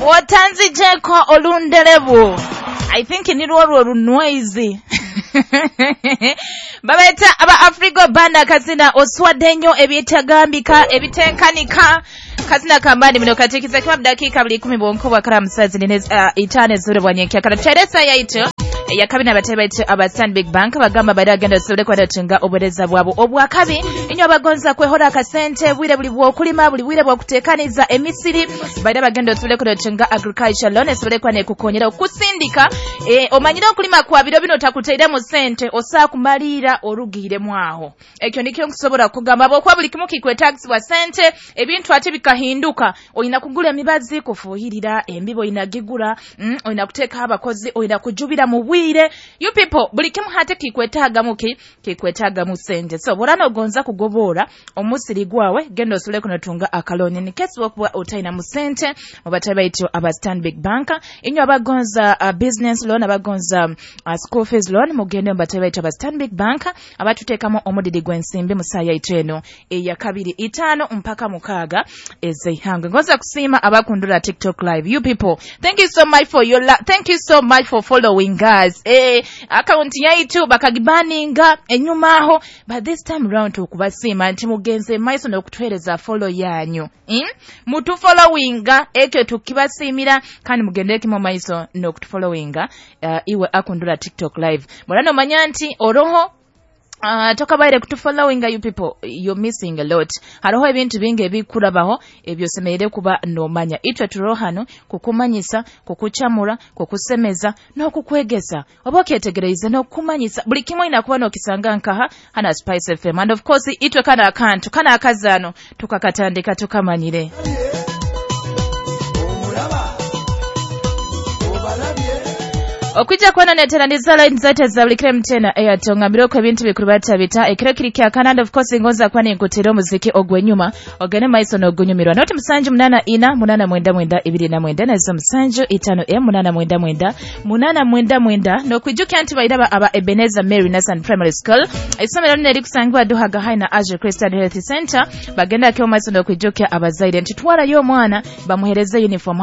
Otanzijeko olunderebu. I think nirwo rwo runwaizi. Babaita aba Afrigo Banda, kazina "Oswadde nnyo ebitagambika ebitenkanika", kazina kambani mino katikiza kiba dakika buli 10 bwonko bwa karamu sazi nine 5 ezure bwanyenkya kala tuteresa yaitu yakabina. Abatebe baitu aba Stanbic Bank bagamba bari agenda osobole kwadatunga obuweereza bwabo obwakabi. Inywe abagonza kwehora akasente bwire buli bwokulima, buli bwire bwokutekaniza emisiri, baira bagenda osobole kwadatunga agriculture loan esobole kuba nekukonyera okusindika. Omanyire okulima kwa biro bino takuteiremu sente, osaa kumaliira orugiiremu aho. Ekyo nikyo nkusobola kugamba, bwokuba buli kimu kikwetagisibwa sente, ebintu ate bikahinduka. Olina kugula emibazi kufuuhirira embibo, olina gigura, olina kuteekaho abakozi, olina kujubira mu bwire. You people, buli kimu hate kikwetaagamu ki kikwetaagamu sente. So bw'oba nogonza kugoboora omusiri gwawe, genda osobole kunotunga akaloni nikesi wokuba otalinamu sente mu batebe baitu aba Stanbic Bank. Inywe abagonza business loan, abagonza school fees loan, mugende mu batebe baitu aba Stanbic Bank abatuteekamu omudidi gw'ensimbi mu saa yaitu eno eyakabiri 5 mpaka 6 ez'eihangwe. Ngonza kusiima abakundula TikTok Live. You people, thank you so much for your thank you so much for following us. Account yaitu bakagibaninga enyuma aho, but this time round tukubasiima nti mugenze maiso n'okutuheereza follow yanyu, Mutufollowinga, ekyo tukibasiimira, kandi mugendere mu maiso n'okutufollowinga. Iwe akundula TikTok Live, mulano omanya nti oroho tokabaire kutufollowinga, you people, you're missing a lot. Hariho ebintu bingi ebikurabaho ebyosemereire kuba nomanya. Itwe turiho hano kukumanyisa, kukucamura, kukusemeza n'okukwegesa oba okyetegereize n'okukumanyisa buli kimwe olina kuba n'okisanga nkaha hana Spice FM. And of course itwe kana akantu kana akazaano tukakatandika tukamanyire. Omulaba obalabye. Okwijja kwononeteraniza line zaitu ezabulikire mtena Airtel, ngambire ebintu bikuru batabita ekiro kiri kyakana. And of course ngonza kuba ninkutera omuziki ogw'enyuma, ogende maiso n'ogunyumirwa. Noti 784 899 29, nazo 75 m 899 899. N'okwijukira nti bairaba aba Ebenezer Mary Nathan Primary School, essomero lino erikusangibwa Duhaga High na Asia Christian Health Center, bagenda ke maiso n'okwijukira abazaire nti twalayo omwana bamuhereze uniform.